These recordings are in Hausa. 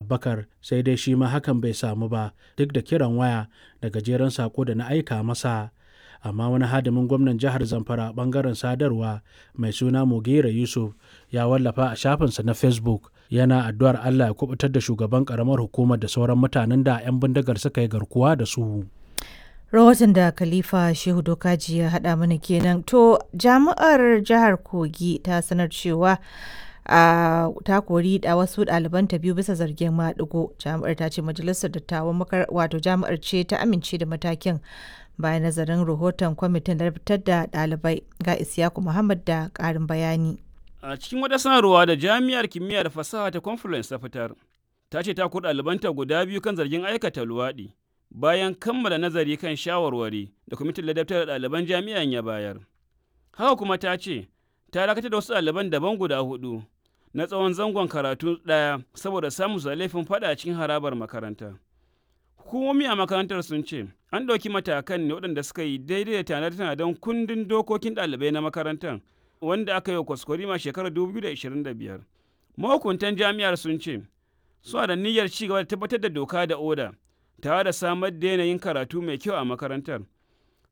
Abubakar, sai dai shi ma hakan bai samu ba duk da kiran waya da gajeren sako da na aika masa. Amma wani hadimin gwamnan jihar Zamfara a bangaren sadarwa mai suna Mugera Yusuf ya wallafa a shafinsa na Facebook yana addu'ar Allah ya kubutar da shugaban karamar hukumar da sauran mutanen da 'yan bindigar suka yi garkuwa da su. Rahoton da Khalifa Shehu Dokaji ya haɗa mana kenan. To, jami'ar jihar Kogi ta sanar cewa a ta kori da wasu ɗalibanta biyu bisa zargin maɗigo. Jami'ar ta ce majalisar dattawan makar wato jami'ar ce ta amince da matakin bayan nazarin rahoton kwamitin da fitar da ɗalibai. Ga Isiyaku Muhammad da ƙarin bayani. A cikin wata sanarwa da Jami'ar Kimiyya da Fasaha ta Confluence ta fitar, ta ce ta kori ɗalibanta guda biyu kan zargin aikata luwaɗi bayan kammala nazari kan shawarwari da kwamitin ladabtar da ɗaliban jami'an ya bayar. Haka kuma ta ce, ta dakatar da wasu ɗaliban daban guda hudu na tsawon zangon karatu ɗaya saboda samun su da laifin faɗa cikin harabar makaranta. Hukumomi a makarantar sun ce an ɗauki matakan ne waɗanda suka yi daidai da tanade-tanaden kundin dokokin ɗalibai na makarantar wanda aka yi wa kwaskwarima shekarar 2025. Mahukuntan jami'ar sun ce suna da niyyar ci gaba da tabbatar da doka da oda tare da samar da yanayin karatu mai kyau a makarantar.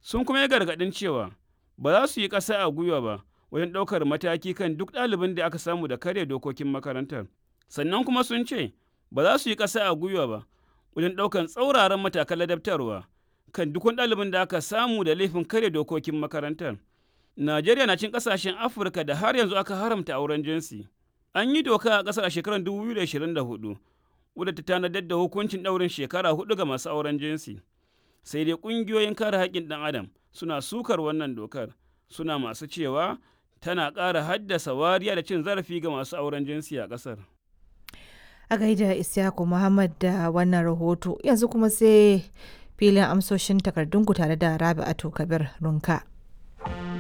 Sun kuma yi gargaɗin cewa ba za su yi ƙasa a gwiwa ba wajen ɗaukar mataki kan duk ɗalibin da aka samu da karya dokokin makarantar. Sannan kuma sun ce ba za su yi ƙasa a gwiwa ba wajen ɗaukar tsauraran matakan ladabtarwa kan duk wani ɗalibin da aka samu da laifin karya dokokin makarantar. Najeriya na cin ƙasashen Afirka da har yanzu aka haramta auren jinsi. An yi doka a ƙasar a shekarar 2024 wadda ta tanadar da hukuncin ɗaurin shekara hudu ga masu auren jinsi. Sai dai ƙungiyoyin kare haƙƙin ɗan adam suna sukar wannan dokar, suna masu cewa tana ƙara haddasa wariya da cin zarafi ga masu auren jinsi a ƙasar. A gaida Isyaku Muhammad da wannan rahoto, yanzu kuma sai filin amsoshin takardunku tare da Rabi'atu Kabir Runka.